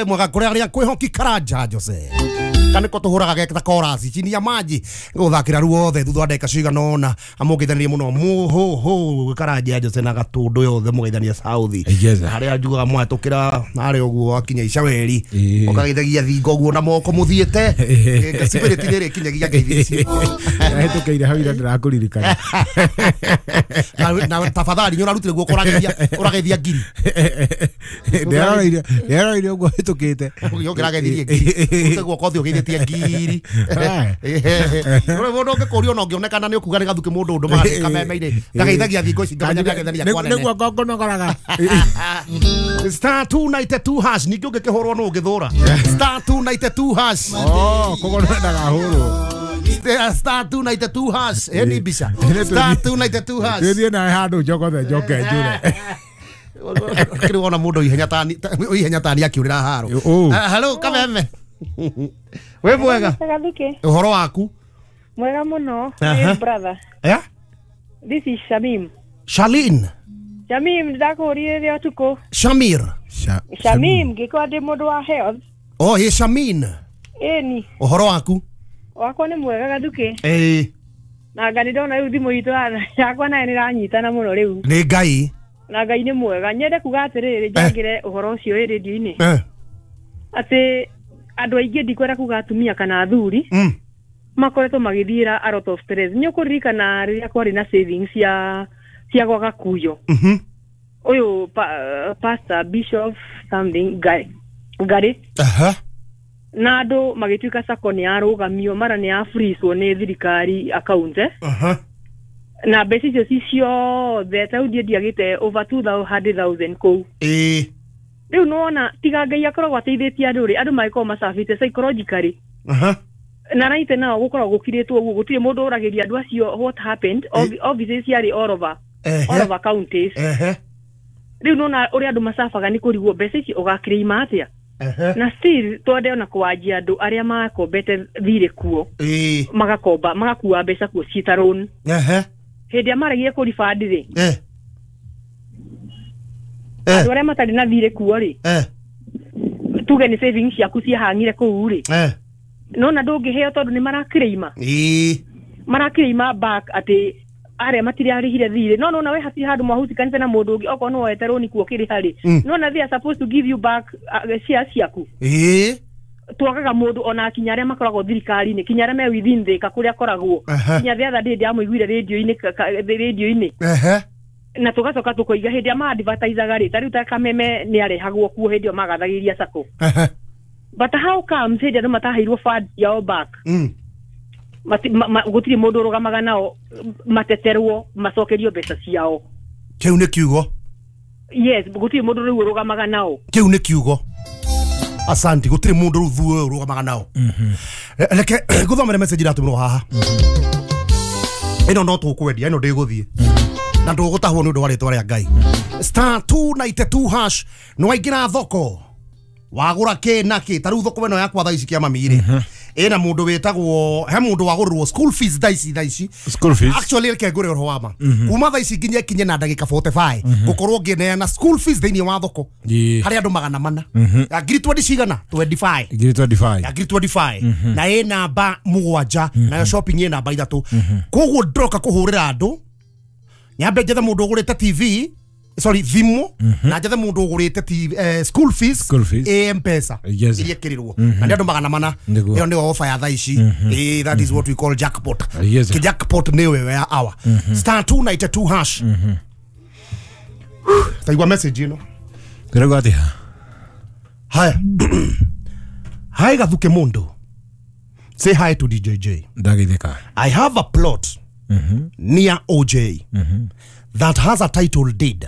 Mwega kũrĩa arĩa kwĩhoki Karanja Jose. Kaniko tũhũraga geta chorus chini ya maji gũthakĩra ruothe thutha wa ndagĩka cigana ũna amũgeithanirie mũno mũhũhũ Karanja Jose na Gatũndũ yothe mũgeithania South. Yes. Harĩa njugaga mwatũkĩra harĩa ũguo akinya Icaweri Ĩĩ. ũkageithagia thingo ũguo na moko mũthiĩte spirit nĩ ĩrĩkinyagia ngeithi icio. Hĩtũkĩire hau ira ndĩrakũririkana. Na tafadhali nĩ ũrarutire guoko ũrageithia ngiri. Ndĩreroreire ũguo hĩtũkĩte. Ũkĩrageithirie ngiri ũrute guoko ũthiĩ ũgeithĩtie ngiri. Ũrĩ mũndũ ũngĩkũrio ona ũngĩonekana nĩ ũkuga nĩ Gathuki mũndũ ũndũ magathiĩ kameme-inĩ ngageithagia thingo ici ngamenya nĩageithania kwa nene. Nĩguo ngũnogoraga. Star 292 hash ningĩ ũngĩkĩhũrwo nũ ũngĩthũra star 292 hash. Oh, koguo ndagahũrwo. Star 292 hash ĩyo nĩ mbica star 292 hash. Twĩthiĩ nawe handũ njogothe njoke njũre. Kĩrĩ wona mũndũ ihenya tani akĩũrĩra haro. Hello Kameme, wĩ mwega? Gathuki. Ũhoro waku? Mwega mũno. Aha. Hey brother. Yeah? This is Shamim. Shalin. Shamim ndakũrire rĩrĩa ũtukũ. Shamir. Shamim ngĩkorwo ndĩ mũndũ wa health. Oh, he Shamin. Ĩni. Ũhoro waku? Wakwa nĩ mwega Gathuki. Ĩĩ. Na nga nĩ ndona rĩu thimũ itũ yakwa nayo nĩ ĩranyitana mũno rĩu. Nĩ Ngai. Na Ngai nĩ mwega. Nyende kuga atĩrĩrĩ njangĩre ũhoro ũcio wĩ rĩndiũ-inĩ. Atĩ andũ aingĩ ndikwenda kuga atumia kana athuri makoretwo magĩthiĩra a lot of stress. Nĩ ũkũririkana rĩrĩa kwarĩ na savings cia gwa Gakuyo. Ũyũ pastor bishop something Ngari. Na andũ magĩtuĩka sacco nĩ yarũgamio mara nĩ ya freezwo nĩ thirikari account. Na mbeca icio ci ciothe ta rĩu niĩ ndiagĩte over 200,000 kũu. Rĩu nĩwona tiga Ngai akoragwo ateithĩtie andũ rĩ, andũ magĩkorwo macabĩte psychologically. Na raite nao gũkoragwo gũkirĩtwo ũguo gũtirĩ mũndũ ũragĩria andũ acio what happened. Offices ciarĩ all over all over counties. Rĩu nĩwona ũrĩa andũ macabaga nĩ kũrigwo mbeca ici ũgakĩrĩima atĩa. Na still twende ona kwanjia andũ arĩa makombete thirĩ kuo magakomba magakua mbeca kuo ciĩ ta loan. Hĩndĩ ĩrĩa maregire kũ refund rĩ, andũ arĩa matarĩ na thirĩ kuo rĩ, tuge nĩ savings ciaku ciahang'ire kũu rĩ, nona ndũngĩheo tondũ nĩ marakĩrĩima. Marakĩrĩima back atĩ arĩa matirarĩhire thirĩ. No nona we hatirĩ handũ mwahusikanĩte na mũndũ ũngĩ okorwo nĩ woete rũni kuo kĩrĩha rĩ, nona they are supposed to give you back shares ciaku. Twagaga mũndũ ona kinya arĩa makoragwo thirikari-inĩ, kinya arĩa me within Thika kũrĩa akoragwo. Kinya the other day ndĩramũiguire rĩndiũ-inĩ. Na tũgacoka tũkoiga hĩndĩ ĩrĩa ma-advertisaga rĩ, ta rĩu ta Kameme nĩ arehagwo kuo hĩndĩ ĩyo magathagĩria sacco. But how comes hĩndĩ andũ mataheirwo fund yao back? Gũtirĩ mũndũ ũrũgamaga nao mateterwo macokerio mbeca ciao. Kĩu nĩ kiugo. Yes, gũtirĩ mũndũ rĩu ũrũgamaga nao. Kĩu nĩ kiugo. Asante, gũtirĩ mũndũ rĩu thuo ũrũgamaga nao. Reke ngũthomere message iratũmĩrwo haha. Ĩno no tũkwendia, ĩno ndĩgũthiĩ. Na ndũgũtahwo nĩ ũndũ wa rĩtwa rĩa Ngai. Star 292 hash nĩ waingĩra thoko. Wagũra kĩ na kĩ, ta rĩu thoko ĩno yakwa thaa ici kĩa mami rĩ. Ĩna mũndũ wĩtagwo, he mũndũ wagũrĩrwo school fees thaa ici. School fees. Actually reke ngũre ũhoro wa ma. Kuma thaa ici nginya ĩkinye na ndagĩka 45 ngũkorwo ngĩneana school fees thĩinĩ wa thoko. Harĩ andũ 400. Ya ngiri 20 cigana? 25. Ngiri 25. Ya ngiri 25. Na ĩ namba 7 nayo shopping ĩ namba 3. Koguo ndĩroka kũhũrĩra andũ nyambe njethe mũndũ ũgũrĩte TV, sorry thimũ, na njethe mũndũ ũgũrĩte TV, school fees, ĩ M-Pesa iria ĩkĩrĩrwo na nĩ andũ 400. Ĩyo nĩyo offer ya thaa ici. That is what we call jackpot. Ki jackpot nĩyo ĩyo ya hour. Star 292 hash. Taigua message ĩno. Ndĩrauga atĩa? Haya. Hi Gathuki mũndũ. Say hi to DJJ. Ndageithĩka. I have a plot near OJ that has a title deed.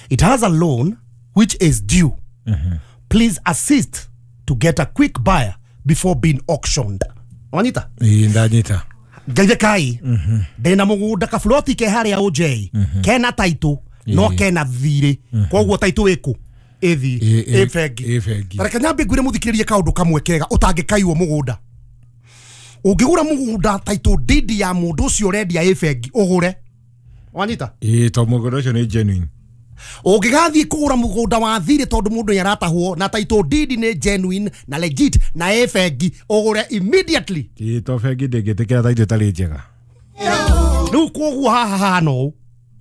It has a loan which is due. Please assist to get a quick buyer before being auctioned. Wanyita? Ndanyita. Ngeithĩkai. Ndĩna mũgũnda kaburoti ke harĩa OJ kena title no kena thirĩ. Koguo title ĩkũ? Ĩthi ĩ bengi. Reke nyambe ngwĩre mũthikĩrĩrie kaũndũ kamwe kega ũtangĩkaiwo mũgũnda. Ũngĩgũra mũgũnda title deed ya mũndũ ũcio ũrendia ĩ bengi ũgũre. Wanyita? Ĩĩ, to mũgũnda ũcio nĩ genuine. Ũngĩgathiĩ kũgũra mũgũnda wa thirĩ tondũ mũndũ nĩ aratahwo na title deed nĩ genuine na legit na ĩ bengi ũgũre immediately. Ĩĩ to bengi ndĩngĩtĩkĩra title ĩtarĩ njega. Rĩu koguo haha hahana ũũ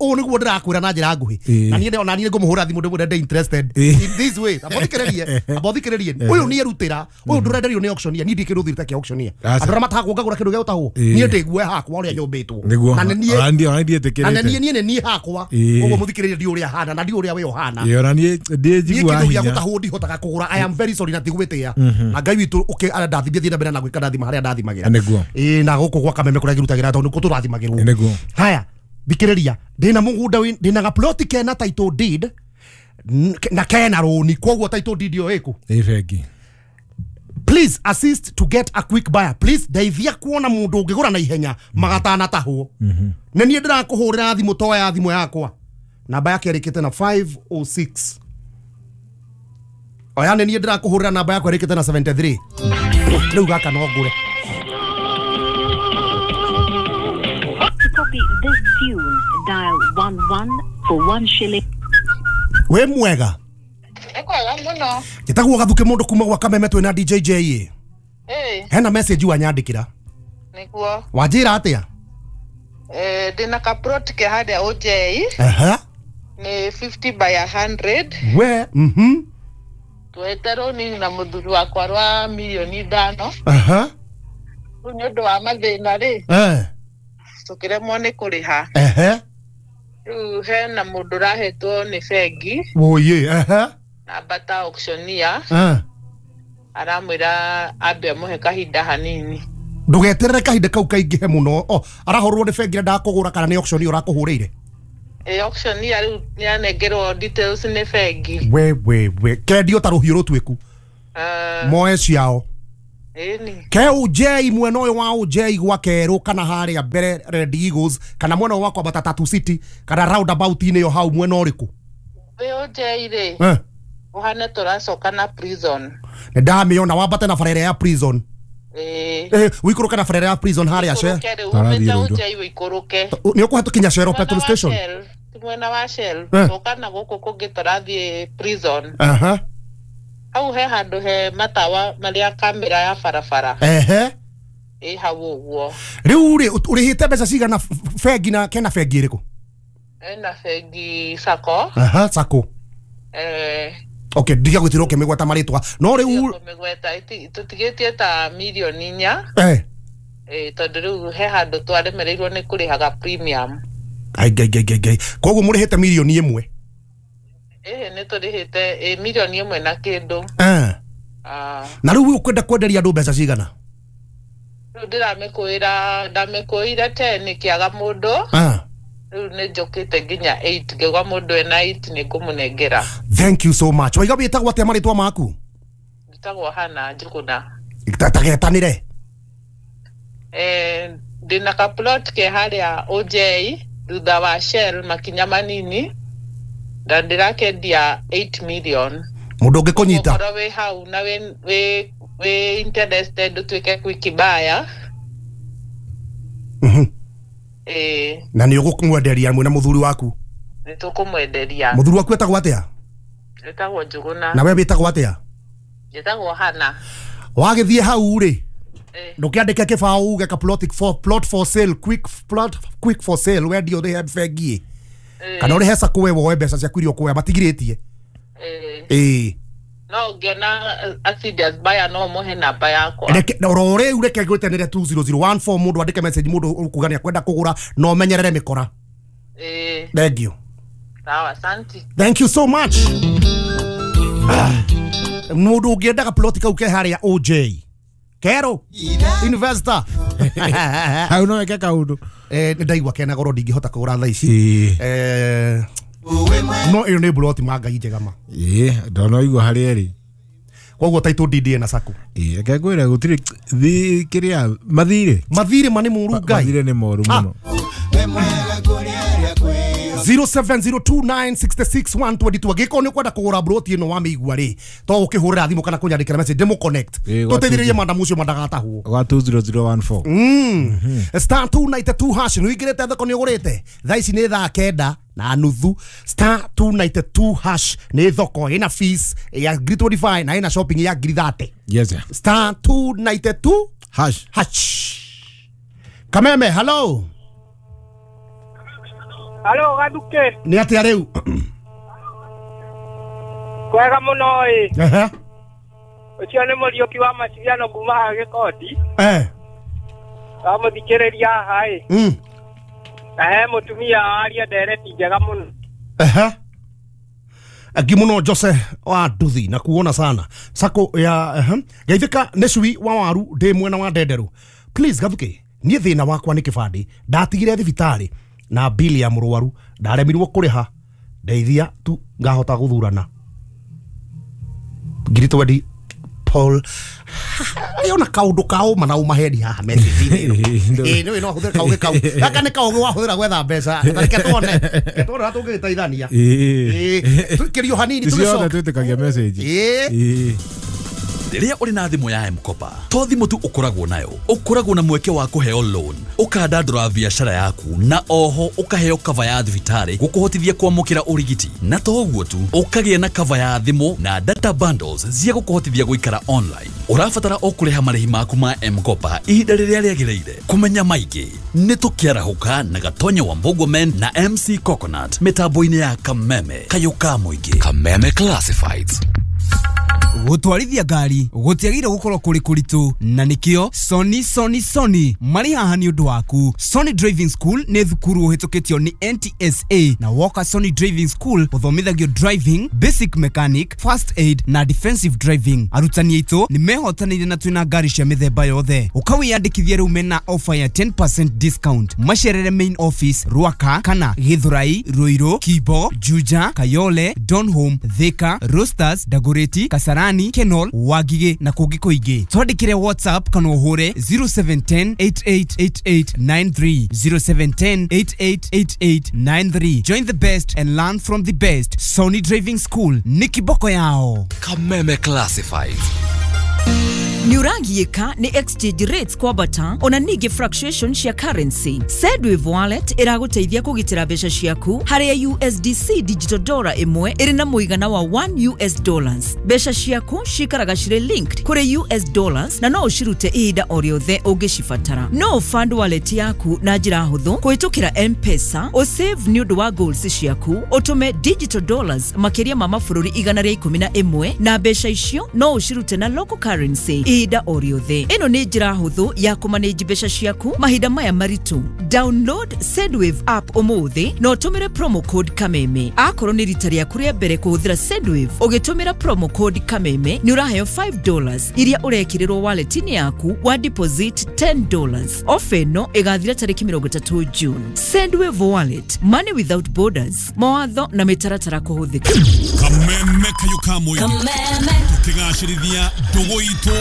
ũũ nĩguo ndĩrakwĩra na njĩra nguhĩ na niĩ ona niĩ ngũmũhũra thimũ ndĩmwĩre ndĩ interested in this way. Ambothikĩrĩrie ũyũ nĩ erutĩra ũyũ ndũrenderio nĩ auctioneer niĩ ndikĩrĩ ũthirĩte kĩa auctioneer andũ arĩa matahagwo ngagũra kĩndũ gĩa gũtahwo niĩ ndĩgue hakwa ũrĩa nyũmbĩtwo na niĩ niĩ niĩ hakwa ũguo mũthikĩrĩrie ndi ũrĩa hana na ndi ũrĩa we ũhana ona niĩ ndĩnjigua hinya kĩndũ gĩa gũtahwo ndihotaga kũgũra. I am very sorry na tigwĩtĩa na Ngai witũ ũkĩ andathimie thiĩ na mbere na gwĩka ndathima harĩa ndathimagĩra ĩĩ na gũkũ gwa Kameme kũrĩa ngĩrutagĩra tondũ nĩkuo tũrathimagĩrwo. Haya thikĩrĩria ndĩna mũgũnda ndĩna gaploti kena title deed na kena rũni koguo title deed ĩyo ĩkũ ĩ bengi. Please assist to get a quick buyer. Please ndeithia kuona mũndũ ũngĩgũra na ihenya magatanatahwo. Nĩ niĩ ndĩrakũhũrĩra thimũ toya thimũ yakwa namba yake ĩrĩkĩte na 506. Oya nĩ niĩ ndĩrakũhũrĩra namba yakwa ĩrĩkĩte na 73. Rĩu gaka no ngũre. Copy this tune, dial 11 for 1 shilling. We mwega. Ekwega muno. Njĩtagwo Gathuke mũndũ kuma gwa Kameme twĩna DJ J. Eh. Hena message wanyandĩkĩra. Nĩguo. Wanjĩra atĩa? Eh, ndĩna ka plot ke harĩa OJ. Aha. Nĩ 50 by 100. We, Twete roni na mũthuri wakwa rwa milioni 5. Aha. Rĩu nĩ ũndũ wa mathĩna rĩ. Eh. Tukiremwo nĩ kũrĩha. Ehe. Rĩu hena mũndũ ũrahetwo nĩ bengi. Woye, ehe. Namba ta auctioneer. Aramwĩra ambe amũhe kahinda hanini. Ndũgeterere kahinda kau kaingĩhe mũno. O, arahũrwo nĩ bengi ndakũgũra kana nĩ auctioneer ũrakũhũrĩire? Ĩ auctioneer rĩu nĩanengerwo details nĩ bengi. We kendio ta rũhiũ rũtuĩku. Moe ciao. Ke OJ mwena ũyũ wa OJ gwa Kerũ kana harĩa mbere Red Eagles kana mwena ũyũ wa kwambata Tatu City kana roundabout-inĩ ĩyo hau mwena ũrĩkũ? Wĩ OJ rĩ ũhane tũracoka na prison. Nĩ ndamĩona wambate na barabara ya prison. Wĩikũrũke na barabara ya prison harĩa Shell. Wĩikũrũke nĩ ũkũhetũkinya Shell petrol station. Mwena wa Shell coka na gũkũ kũngĩ tũrathiĩ prison. Aha. Hau he handũ he matawa marĩa kamera ya barabara. Ehe. Ĩ hau ũguo. Rĩu rĩ ũrĩhĩte mbeca cigana bengi na kena bengi ĩrĩkũ? Ena bengi Sacco. Aha, Sacco. Okay, ndiga gwĩtirwo ũkĩmĩgweta marĩtwa. No rĩu kũmĩgweta tũtigĩtie ta milioni 4. Tondũ rĩu he handũ twaremereirwo nĩ kũrĩhaga premium. Ai ngai ngai ngai. Koguo mũrĩhĩte milioni 1. Nĩ tũrĩhĩte milioni 1 na kĩndũ. Na rĩu ũkwenda kwenderia andũ mbeca cigana? Rĩu ndĩramĩkũĩra ndamĩkũĩire 10 kĩaga mũndũ. Rĩu nĩ njũkĩte nginya 8 ngĩgwa mũndũ ena 8 nĩ ngũmũnengera. Thank you so much. Waiga wĩtagwo atĩa marĩtwa maku? Njĩtagwo Hana Njũgũna. Tagetanĩre. Ndĩna ka plot ke harĩa OJ thutha wa Shell makinya manini. Na ndĩrakendia 8 million. Mũndũ ũngĩkũnyita ũkorwo wĩ hau na wĩ interested ũtuĩke quick buyer. Na nĩ ũgũkũmwenderia mwĩna mũthuri waku? Nĩ tũkũmwenderia. Mũthuri waku etagwo atĩa? Etagwo Njũgũna. Na we wĩtagwo atĩa? Njĩtagwo Hana. Wagĩthiĩ hau rĩ ndũkĩandĩke kĩbaũ uge ka plot for sale quick plot quick for sale wendio ũrĩhe bengi kana ũrĩhe Sacco we woe mbeca ciaku iria ũkuoya matigirĩtie. No ũngĩona a serious buyer no mũhe namba yakwa. Reke oro rĩu reke ngwĩtanĩre 20014 mũndũ andĩke message mũndũ ũkuga nĩ akwenda kũgũra na ũmenyerere mĩkora. Thank you. Sawa, asante. Thank you so much. Mũndũ ũngĩendaga plot kau ke harĩa OJ Kero investor hau no weke kaũndũ. Nĩ ndaigua kena goro ndingĩhota kũgũra thaa ici. No ĩyo nĩ plot ma Ngai njega ma. Ndona igua harĩa ĩrĩ. Koguo title deed ĩna Sacco. Reke ngwĩre gũtirĩ kĩrĩa mathirĩ. Mathirĩ ma nĩ mũru Ngai. Mathirĩ nĩ moru mũno. 0702966122 angĩkorwo nĩ ũkwenda kũgũra broti ĩno wa mĩigua rĩ to ũkĩhũrĩra thimũ kana kũnyandĩkĩra message ndĩmũ connect tũteithĩrĩrie madamu ũcio mandagatahwo gwa 20014. Star 292 hash nĩ ũingĩrĩte thoko nĩ ũgũrĩte thaa ici nĩ thaa 9:30. Star 292 hash nĩ thoko ĩna fees ya 25 na ĩna shopping ya 30. Yes sir. Star 292 hash hash. Kameme, hello. Hello Gathuke. Nĩ atĩa rĩu? Kwega mũno ĩ. Ũcio nĩ Mũriũki wa Maciriano kuma haha Gĩkondi. Ndamũthikĩrĩria haha ĩ. Na he mũtumia aria ndereti njega mũno. Angi mũno Jose wa Nduthi na kuona sana sako ya Geithĩka nĩ cui wa waru ndĩ mwena wa Ndenderũ. Please Gathuke, niĩ thĩna wakwa nĩ kĩbandĩ ndatigire thibitarĩ na bili ya mũrwaru ndaremirwo kũrĩha ndeithia tu ngahota gũthurana. 20 Paul ona kaundu kao mana umaheni haha message-inĩ ĩno. Ĩ no ahũthĩre kaũgĩ kau gaka nĩ kaũgĩ wahũthĩra gwetha mbeca. Reke tuone na tũngĩgĩteithania. Tũikĩrio hanini tũgĩcoka twĩtĩkagia message. Rĩrĩa ũrĩ na thimũ ya M-Kopa to thimũ tu ũkoragwo nayo, ũkoragwo na mweke wa kũheo loan, ũkandandũra biacara yaku na oho ũkaheo cover ya thibitarĩ gũkũhotithia kwamũkĩra ũrigiti, na to ũguo tu ũkagĩa na cover ya thimũ na data bundles cia gũkũhotithia gũikara online. Ũrabatara o kũrĩha marĩhi maku ma M-Kopa ihinda rĩrĩa rĩagĩrĩire. Kũmenya maingĩ nĩ tũkĩarahũka na Gatonya wa Mbogomen na MC Coconut mĩtambo-inĩ ya Kameme kayũ ka mũingĩ. Kameme Classifieds. Gũtwarithia ngari gũtiagĩrĩire gũkorwo kũrĩ kũritũ na nĩkĩo Sony Sony Sony marĩ haha nĩ ũndũ waku. Sony Driving School nĩ thukuru ũhĩtũkĩtio nĩ NTSA na woka Sony Driving School ũthomithagio driving, basic mechanic, first aid na defensive driving. Arutani aitũ nĩ mehotanĩire na twĩna ngari cia mĩthemba yothe. Ũkawĩyandĩkithia rĩu mena offer ya 10% discount. Macerere main office Ruaka kana Githurai, Ruiru, Kibo, Juja, Kayole, Donholm, Thika, Roasters, Dagoretti, Kasarani, Kenol, Wagige na kũngĩ kũingĩ. Twandĩkĩre WhatsApp kana ũhũre 0710 888893 0710 888893. Join the best and learn from the best. Sony Driving School ni kiboko yao. Kameme Classifieds. Nĩũragiĩka nĩ exchange rates kwambata ona ningĩ fluctuation cia currency. Sendwave Wallet ĩragũteithia kũgitĩra mbeca ciaku harĩa USDC digital dollar ĩmwe ĩrĩ na mũigana wa 1 US dollars. Mbeca ciaku cikaraga cirĩ linked kũrĩ US dollars na no ũcirute ihinda o rĩothe ũngĩcibatara. No fund wallet yaku na njĩra hũthũ kũhĩtũkĩra M-Pesa, ũsave nĩ ũndũ wa goals ciaku, ũtũme digital dollars makĩria ma mabũrũri 111 na mbeca icio no ũcirute na local currency ihinda o rĩothe. Ĩno nĩ njĩra hũthũ ya kũmanage mbeca ciaku mahinda maya maritũ. Download Sendwave app ũmũthĩ na ũtũmĩre promo code Kameme. Akorwo nĩ rita rĩaku rĩa mbere kũhũthĩra Sendwave, ũgĩtũmĩra promo code Kameme nĩ ũraheo $5 iria ũrekĩrĩrwo wallet-inĩ yaku wa deposit $10. Ofa ĩno ĩgathira tarĩki 30 June. Sendwave Wallet, money without borders. Mawatho na mĩtaratara kũhũthĩka. Kameme kayũ ka mũingĩ. Tũkĩgacĩrithia ndũgũ itũ